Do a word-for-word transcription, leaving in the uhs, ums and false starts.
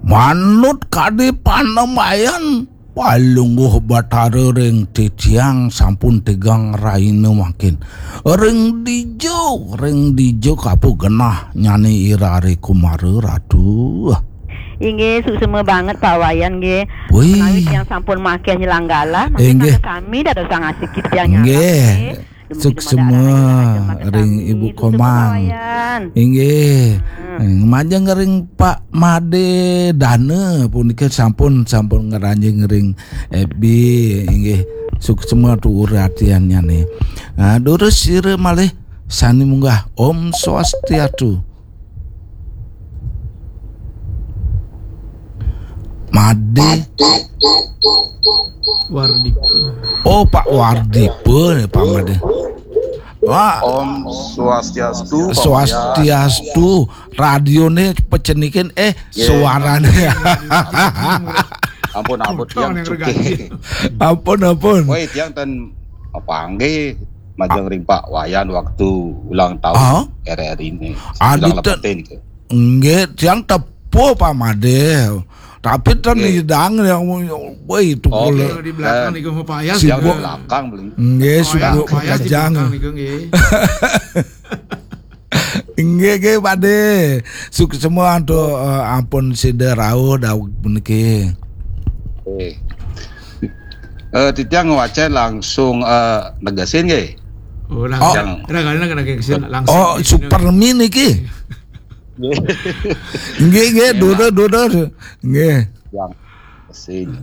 Manut kadi panembayan, Palungguh Batara ring titiang sampun tigang rahina mangkin. Ring dija, ring dija kapu genah nyane Ira Ari Kumara, Ratu. Inggih, suksema banget Pak Wayan nggih. Wih. Menawi tiang sampun makéh nyelang galah, mangkin inggih, kami dadosang asiki tiang nyarap, nggih. Nggih. Suksema ring Ibu Komang. Inggih. Hmm. Majeng ring Pak Made Dana punika sampun, sampun ngranjing ring F B, inggih. Suksema tuur atiannyane. Ah, durus sira malih sane munggah. Om Swastiastu. Made. Wardipa. Oh, Pak Wardipa nih, Pak Made. Wah. Om Swastiastu, Pak Swastiastu. Radione pecenikin, eh, suarane. Ampun, ampun, tiang cuke. Ampun, ampun. Woi, tiang ten apa nggih majeng ring Pak Wayan waktu ulang tahun R R I ini. Ulang lepetin ke. Nggih, tiang tepuh Pak Made. Tapi ten nyidang yang, woi, itu. Oke. Kalau di belakang niku Pak Yas. Sibuk juga. Belakang beli. Nggih, sibuk Pak Yas di kejang. Belakang niku nggih. Nggih, nggih, Pak De. Suksema antuk, eh, ampun sida rauh daweg puniki. Eh. Eh, titiang ngwacén langsung, eh, negesin nggih. Oh, langsung. Oh. Ragane negesin langsung. Oh, Supermi niki. Nggih. Nggih, nggih, dudur, dudur. Nggih. Yang sing.